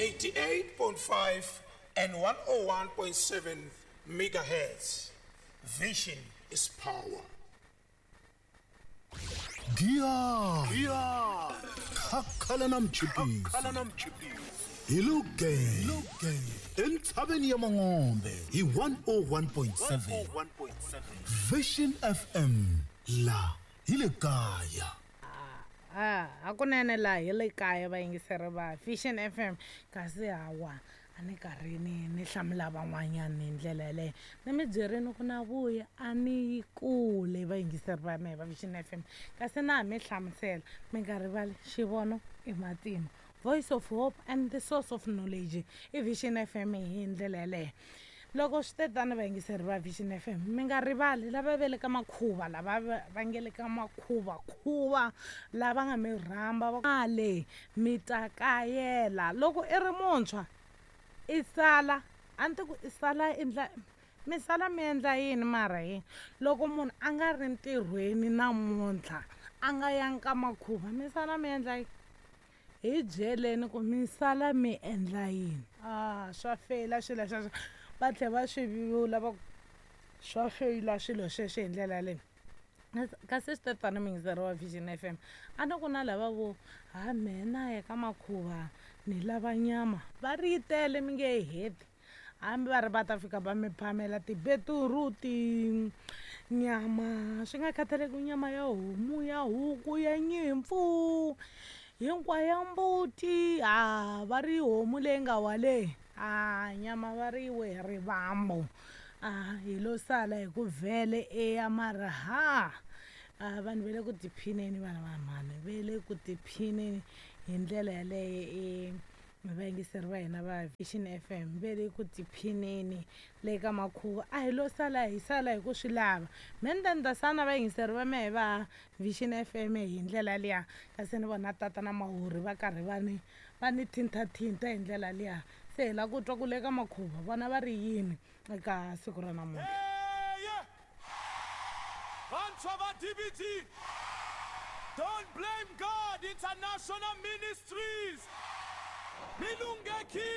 88.5 and 101.7 megahertz. Vision is power. Giya khakhala na mchipisi hi luge entshaveni ya Mangombe hi 101.7 Vision FM la hi le kaya. Hakunene laha hi le kaya vayingiseri va Vision FM, kasi hawa a ni karhi ni hlamula van'wanyana hi ndlela yaleyo. Ni mi byerini ku na vuya a ni yi kule vayingiseri va mehe va Vision FM, kasi na ha mi hlamusela mi nga rivali xivono i matima, voice of hope and the source of knowledge i Vision FM hi ndlela yaleyo. Loko swi te tano vayingiseri va Vision FM, mi nga rivali lava ve le ka makhuva, lava va nge le ka makhuva khuva, lava nga mi rhamba va ale mi ta kayela. Loko i ri muntshwa i sala, a ni ti ku i sala endla mi sala mi endla yini mara yini? Loko munhu a nga ri ntirhweni namuntlha a nga yangi ka makhuva, mi sala mi endla yini? Hi byeleni ku mi sala mi endla yini? Swa feyila swilo sweswo, va tlhela va swi vula va ku swa feyila swilo sweswo hi ndlela yaleyo. Kasi swi te tano muyingiseri wa Vision FM, a ni ku na lava vo ha mehe na ya ka makhuva ni lava nyama, va ri yi tele mi nge yi heti, hambi va ri va ta fika va mi phamela tibetiruti, nyama, swi nga khathaleki nyama ya homu, ya huku, ya nyimpfu, hinkwayo ya mbuti, ha va ri homu leyi nga wale, ha nyama va ri we rivambu, hi lo sala hi ku vhele eya mara ha vanhu va le ku tiphineni, vana va mhani va le ku tiphineni hi ndlela yaleyo. Vayingiseri va hina va Vision FM va le ku tiphineni le ka makhuva, a hi lo sala hi sala hi ku swi lava. Me ni ta ni ta sana vayingiseri va mehe va Vision FM hi ndlela liya, kasi ni vona tata na Mahuri va karhi va ni thintathinta hi ndlela liya. Se hi lava ku twa ku le ka makhuva vona va ri yini eka siku ra namuntlha. Vantshwa va DBT, Don't Blame God International Ministries, mi lunghekile.